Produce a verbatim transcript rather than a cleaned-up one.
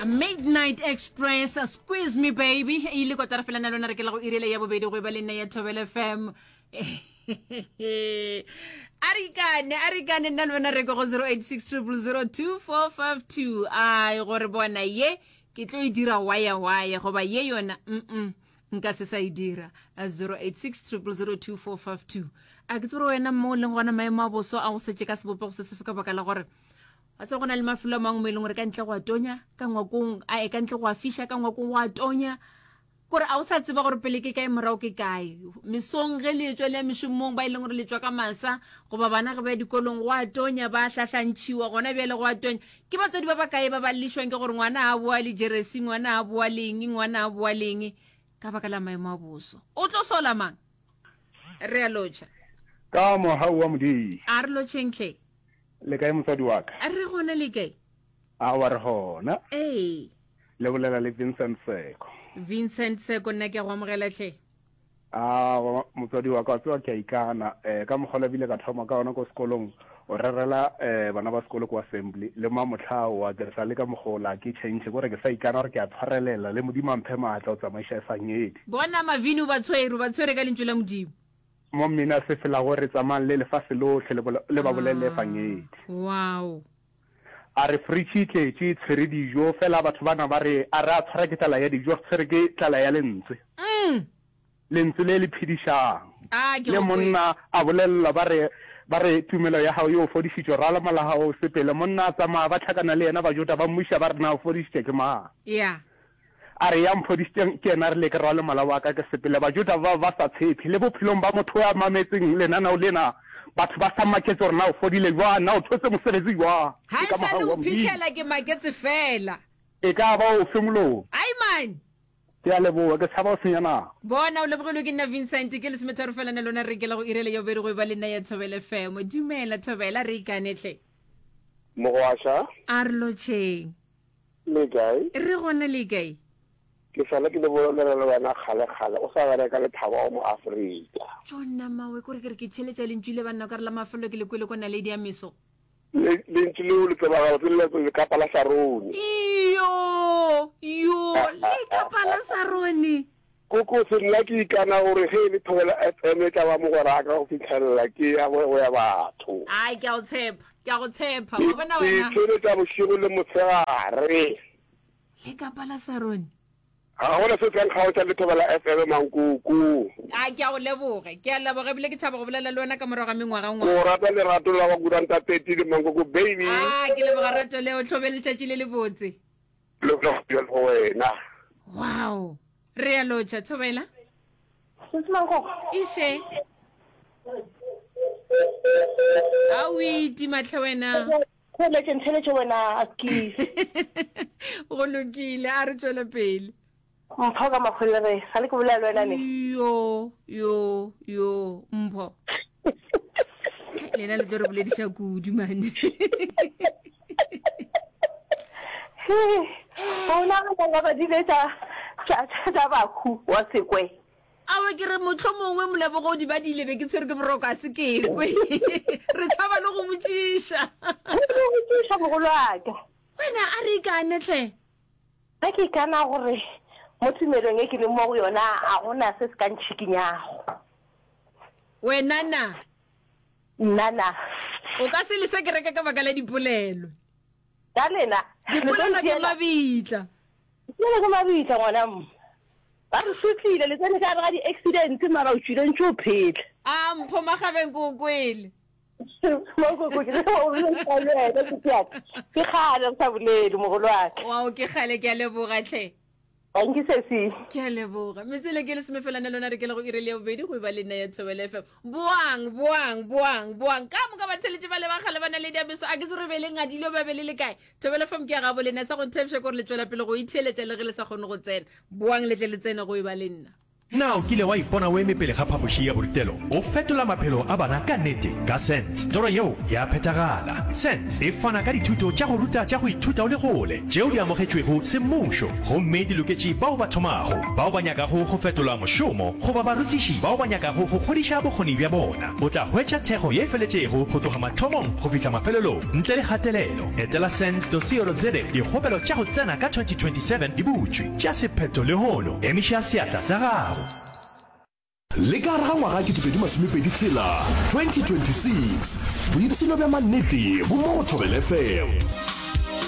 Midnight Express, Squeeze Me Baby, e ile kotara fela na lona re ke la go irele ya bobedi go e ba le nna ya Thobela F M. A re ikane, a re ikane nna le wena re ko go zero eight six zero zero zero two four five two. Ai, gore bona ye ke tlo e dira waya waya, goba ye yona mm nka se sa e dira. zero eight six zero zero zero two four five two. A ke tsebe gore wena mo o leng gona maemo a boso a go setse ka sebopego se sefe, ka baka la gore wa tseba go na le mafelo a mangwe mo e leng gore ka ntle go a tonya, ka ngwakong a e ka ntle go a fiša, ka ngwakong go a tonya, kore a o sa tseba gore pele ke kae, morago ke kae. Mesong ge le etswa le ya mešomong, ba e leng gore le tswa ka masa, goba bana ge ba ya dikolong, go a tonya, ba hlahlantšhiwa gona bjale, go a tonya. Ke batswadi ba ba kae ba ba llišwang ke gore ngwana a boa le jeresi, ngwana a boa leng, ngwana a boa leng, ka baka la maemo a boso? O tlo sola mang? Re a lotšha. Ka mohau wa Modimo. A re lotšheng tlhe. Le kae, motswadi wa ka? A re gona, le kae? A wa re gona. Ee. Le bolela le Vincent Seko. Vincent Seko, nna ke a go amogela tlhe. A motswadi wa ka, wa tseba ke a ikana um ka mokgwa bile ka thoma ka ona ko sekolong, o rerela um bana ba sekolo ko assembly le mamotlhao wa ke sa le ka mogola ke change, kore ke sa ikana gore ke a tshwarelela le Modimo a mphe maatla o tsamaiša e sangedi. Bona mavini, o ba tshwere, o ba tshwere ka lentšu la Modimo. Mo mmina se fela gore tsamayang le lefase lotlhe le ba bolelele efangedi. Wow. A re fridge e tletše e tshwere dijo, fela batho bana ba re a re a tshwara ke tlala ya dijo, re tshwere ke tlala ya lentswe. Mm. Lentswe le le phedišang. Ah, ke Le go kwele. Monna a bolelelwa ba re ba re tumelo ya gago e o fodišitše, rwala mola gago o sepele. Monna a tsamaya, ba hlakana le yena Bajuda, ba mmuša ba re na o fodišitše ke mang? Yeah. A re ya mphodišitšeng ke yena, a rile ke rwale mola wa ka ke sepele. Bajuda ba ba sa tshepe le bophelong ba motho yo a mametseng lenaneo lena, batho ba sa maketse gore na o fodile jwang, na o thotse mosebetsi jwang. Ga Ke e ka sa le mogau o wa Modimo. phitlhela ke maketse fela. E ka ba ofe molomo? Ai man! Ke a leboga, ke tshaba go senya nako. Bona o lebogilwe ke nna Vincent, ke lesometharo fela na lona re ke la go irele ya bobedi go e ba le nna ya Thobela F M. Dumela Thobela, re ikane tle. Mogwaša. A re lotšheng. Le kae? Re gona, le kae? Ke sale ke le bolela le wena kgale-kgale o sa bereka le Thabo mo Afrika. Tšonna mawe, kore ke re ke theletša lentšu le banna, ka re la mafelelo ke le kwele ko Naledi ya Meso. Le lentšu leo le tseba gabotse le lekapa la Sarone. Iyo, yo, lekapa la Sarone. Kokose, nna ke ikana gore ge e le Thobela F M e tla ba mogweraka go fitlhelela ke ya go ya batho. Ai, ke a go tshepa, ke a go tshepa. Wa bona Ke wena. theletša bošego le motshegare. Lekapa la Sarone. Ga gona se se nkgaotša le Thobela F M, mankoko. A ke a go leboge, ke a leboga, ebile ke thaba go bolela le wena ka morago ga mengwaga-ngwaga. Ko rata lerato la wa kuranta thirty le mankoko baby. A ke leboga rato leo, tlhobe letšatši le le botse. Le go go wena. Wow. Re a lotšha Thobela. Sesi Mankoko. Iše. A o itima tlhe wena. Theletše, ntheletše wena askies. Go lokile, a re tšwele pele. Mpho ka Makgolere, ga le ke bolela le wena ne. Yo, yo, yo, Mpho. Lena le tlo re bolediša kudu mane. O nagana ka badile tša tša tša bakhu wa sekwe. Awe ke re motlho mongwe molebogodi ba dile be ke tshwere ke boroko a se ke kwe. Re tšhaba le go botšiša. Go botšiša mogolo wa ka. Wena a re ikane tlhe. Ge ke ikana gore mo tumelong e ke leng mo go yona a gona se se ka ntšhikinyago. Wena na? Nna na? O ka se lese kereke ka baka la dipolelo. Ka lena. Dipolelo ke mabitla. Dipolelo ke mabitla ngwana mma. Ba re sotlile, le tsene ka gare ga di-accident mara o tšwile ntše o phela. A Mpho Magabeng ke o kwele. Makoko ke o bolela le wena sesi ya ka. Ke kgale re sa bolele mogolo wa ka. Wow ke kgale, ke a leboga tlhe. Dankie sesi. Ke a leboga. Metswele ke lesomefelane lona re ke le go iri le ya bobedi go e ba le nna ya Thobela F M. Boang, boang, boang, boang. Ka moka batheletši ba le ba kgale ba na le diabeso a ke se re be le ngadile ba be le le kae. Thobela F M ke ya gabo lena, sa go nthepša ke gore le tšwela pele go itheeletša le ge le sa kgone go tsena. Boang le tle le tsene go e ba le nna. Na o kile wa ipona o eme pele ga phapoši ya borutelo o fetola maphelo a bana ka nnete? Ka SENS, toro yeo ya phethagala. SENS e fana ka dithuto tša go ruta tša go ithuta o le kgole tšeo di amogetšwego semmušo gomme di loketše bao ba thomago, bao ba nyakago go fetola mošomo goba barutiši bao ba nyakago go godiša bokgoni bja bona. O tla hwetša thekgo ye e feletšego go tloga mathomong go fihla mafelelong ntle le kgatelelo. Etela sens dot co dot za. Dikgopelo tša go tsena ka twenty twenty seven di butšwe. Tšea sephetho lehono. Emiša seatla sa gago. Le ka gare ga ngwaga ketepedi masomepedi tshela, twenty twenty six, boipshino bja mannete bo mo go Thobela F M.